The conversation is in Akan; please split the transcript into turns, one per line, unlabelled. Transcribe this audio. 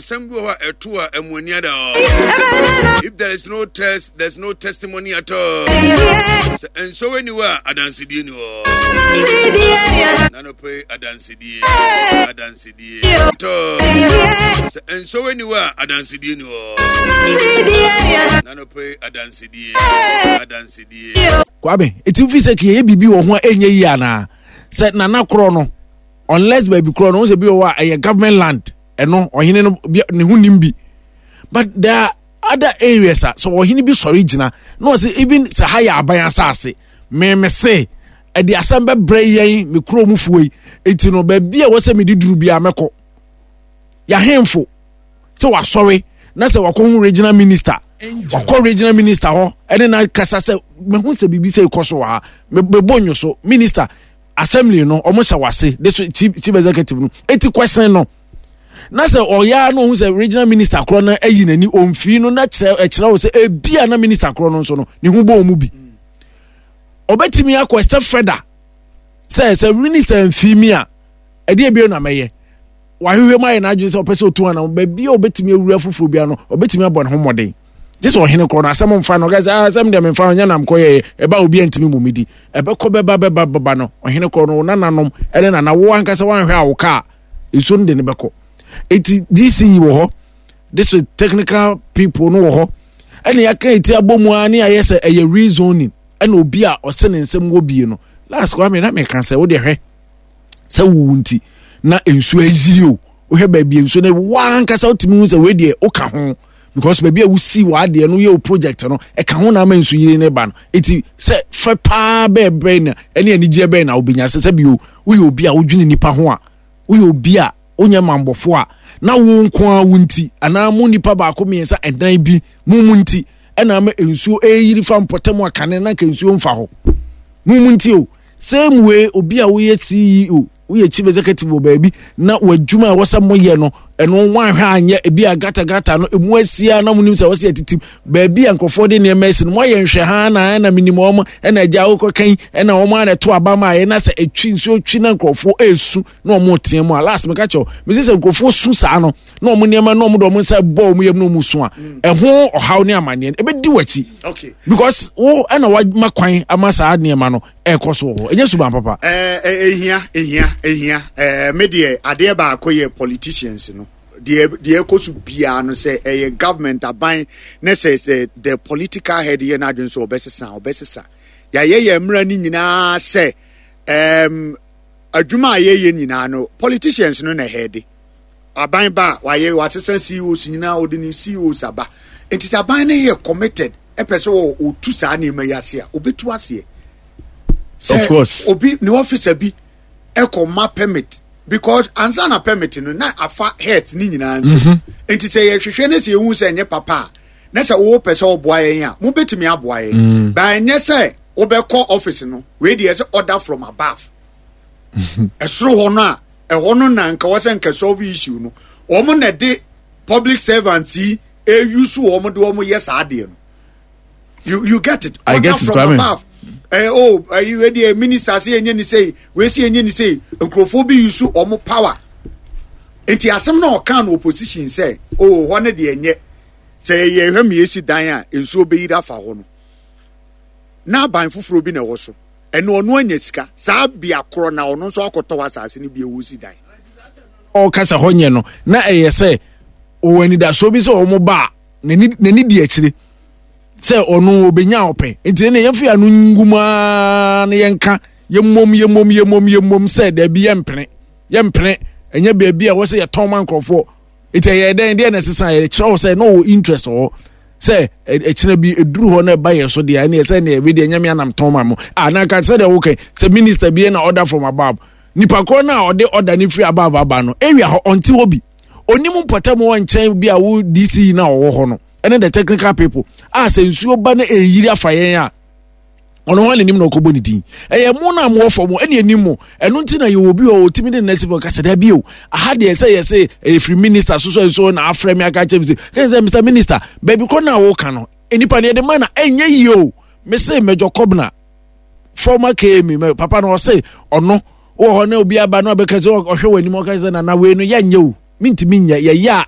Asɛm bi wɔ hɔ a ɛto a ɛmu ani ada hɔ. If there is no test, there is no testimony at all. Sɛ nsɔwɛ ni hɔ a, adansedie ni hɔ. Nanɔpɛ adansedie, adansedie. Tɔ. Sɛ nsɔwɛ ni hɔ a, adansedie ni hɔ. Nanɔpɛ adansedie, adansedie.
Kwame, eti fi sɛ kiyɛ biribi wɔ ho a ɛnyɛ yie anaa? Sɛ nana korɔ no, unless baabi korɔ no, wo sɛ bi wɔ hɔ a ɛyɛ government land. Ɛno ɔhene no ne ho nim bi, but there are other areas a sɛ ɔhene bi sɔre gyina na ɔsɛ even sɛ ha yɛ aban asase, meme se ɛde asɛm bɛbrɛ yɛn me kuro mu fuo yi, eti no baabi a wɔsɛ mede duru bi a mɛkɔ. Yɛahemfo sɛ wasɔre na sɛ wakɔhu regional minister, wakɔ regional minister hɔ ɛne na kasa sɛ mehu sɛ biribi sɛ ɛkɔ so wɔ ha, mebɔ nyo so minister assembly no ɔmo hyɛ wase de so chief executive no eti question no, na sɛ ɔyaa no ohun sɛ regional minister korɔ no ayi n'ani omfii no, na kyerɛ ɛkyerɛ wo sɛ ebia na minister korɔ no nso no ne ho bɔ ɔmo bi. Ɔbɛtumi akɔ step further sɛ minister mfii mi a, ɛdeɛ ebien na mɛyɛ. Wahwehwɛ mu ayɛ n'adwene sɛ ɔpɛ sɛ otu anam baabi a ɔbɛtumi awura foforɔ bi ano, ɔbɛtumi abɔ ne ho mmɔden gye sɛ ɔhene korɔ no asɛm mfa no ɔka sɛ, ah, asɛm deɛ memfa no nyɛ nam kɔyɛyɛ ɛba obi antumi mu medi ɛbɛkɔ bɛba bɛba bɛba no ɔhene korɔ no nananom ɛne nana wo ankasa woanhwɛ a wo kaa nsuo no de no bɛkɔ. Eti DC wɔ hɔ, district technical people no wɔ hɔ, ɛne yɛaka eti abɔ mu ara ne ayɛ sɛ ɛyɛ rezoning, ɛna obi a ɔsɛ ne nsɛm wɔ bie no. Last kwame na meka sɛ wode hwɛ sɛ wowu nti na nsuo ayiri o, wohwɛ baabi nsuo no wankasa wotumi hu sɛ wei deɛ woka ho, because baabi a wosi w'adeɛ no yɛ wo project no ɛka ho na ama nsu yiri ne ba no. Eti sɛ fɛ paa bɛɛ bɛn na ɛne anigyeɛ bɛn na wobɛnya sɛ bio woyɛ obi a wodwene nipa ho a, woyɛ obi a wonyɛ mambɔfo a, na wo nko ara wo nti anaa mo nipa baako mmiɛnsa ɛdan bi mo nti ɛna ama nsuo ɛyiri fa mpɔtam a kane na nka nsuo mfa hɔ mo nti o. Same way obi a woyɛ CEO, woyɛ chief executive wɔ baabi na w'adwuma a ɛwɔ sɛ moyɛ no ɛno woanhwɛ anyɛ ebi a gata gata no emu asia na monim sɛ wɔsɛ yɛtitim baabi a nkurɔfoɔ de nneɛma asi no moayɛ nhwɛ ha na ɛna menim wɔn ɛna agya wokɔ kan ɛna wɔn a na ɛto aba ma ayɛ na sɛ ɛtwi nsuo twi na nkurɔfoɔ ɛresu na wɔn teɛ mu a, last meka kyɛw mesi sɛ nkurɔfoɔ su saa no na wɔn nneɛma na wɔn de wɔn nsa bɔ wɔn yam na wɔn su a, ɛho ɔhaw ne amanneɛ no ɛbɛdi w'akyi because wo ɛna wama kwan ama saa nneɛma no ɛkɔ so wɔ hɔ. Ɛnyɛ suban papa.
Ɛɛ ehia ehia ehia ɛɛ me deɛ adeɛ baako yɛ politicians no deɛ ɛkɔ so biara no sɛ ɛyɛ government aban ne sɛ the political head yɛ n'adwene sɛ ɔbɛsesa yɛayɛ yɛn mmerɛ no nyinaa sɛ adwuma a yɛyɛ nyinaa no politicians no na ɛhɛde aban ba a wayɛ wasesa CEOs nyinaa ɔde ne CEOs aba. Nti sɛ aban no yɛ committed ɛpɛ sɛ ɔtu saa nneɛma yi ase a, ɔbɛtu aseɛ. Sɛ
Of course.
obi ne officer bi ɛkɔ ma permit because ansa na permit no na afa health ne nyinaa nso. Nti sɛ yɛhwehwɛ ne sɛ yɛhu sɛ ɛnyɛ papa a, na sɛ wopɛ sɛ ɔboa yɛn a, mobɛtumi aboa yɛn. Ba ɛnyɛ sɛ wobɛkɔ office no wei deɛ sɛ order from above ɛsoro hɔ no a ɛhɔ no na nka wɔ sɛ nka solve issue no, wɔn na de public servants yi eyu so wɔn de wɔn yɛ saa adeɛ no. You get it?
I
order
get it,
from
Kwame.
above. Oh, wei deɛ minister sɛ yɛnyɛ ne sei, wei sɛ yɛnyɛ ne sei, nkurɔfoɔ bi use wɔn power. Nti asɛm na ɔka no opposition sɛ oh hɔ ne deɛ nyɛ sɛ yɛhwɛ mi esi dan a nsuo bɛyiri afa hɔ no, na aban foforɔ bi na ɛwɔ so ɛna ɔno anya sika saa bea korɔ na ɔno nso akɔtɔ asase no bi ɛwɔ si dan.
Ɔkasa hɔ nyɛ no na ɛyɛ sɛ ɔwɔ anidasoɔ bi sɛ wɔn ba a n'ani di akyire sɛ ɔno ɔbɛnya ɔpɛ, nti ɛnna yɛmfa yɛn ano ngu mu ara na yɛnka yɛmmom yɛmmom yɛmmom yɛmmom sɛ daabi, yɛmpene yɛmpene, ɛnyɛ baabi a wɔsɛ yɛtɔn ma nkurɔfoɔ. Nti ɛyɛ dɛn deɛ na ɛsesa yɛkyerɛ wo sɛ na ɔwɔ interest wɔ hɔ sɛ ɛkyerɛ bi ɛduru hɔ na ɛba yɛn so deɛ ɛne ɛsɛ ne ɛbi deɛ nyame anam tɔn ma mo a na nka sɛ deɛ wokɛ sɛ minister bi na order from above, nipa korɔ no a ɔde order no firi above aba no area hɔ ɔnte hɔ bi, onim mpɔtam wɔ nkyɛn bi a wo DC na ɔwɔ hɔ no ɛne the technical people a sɛ nsuo ba na ɛyiri afa yɛn a ɔno hɔ n'anim na ɔkɔbɔ ne din. Ɛyɛ mo na mowɔ fam ɛne anim mo ɛno nti na yɛwɔ bi wɔ ɔtumi de nɛsi fɔ kasa da bio aha deɛ sɛ yɛ sɛ ɛyɛ firi minister so so nso na afrɛ me aka kyerɛ me sɛ kɛn sɛ Mr Minister baabi kɔ na woka no nipa no yɛde ma na ɛnyɛ yie o. Me se Major Kobna, former KMA papa no, ɔse ɔno wɔ hɔ na obi aba na ɔbɛka sɛ ɔhwɛ wɔ anim ɔka sɛ nana wei no yɛnyɛ o, mentumi nyɛ yɛyɛ a.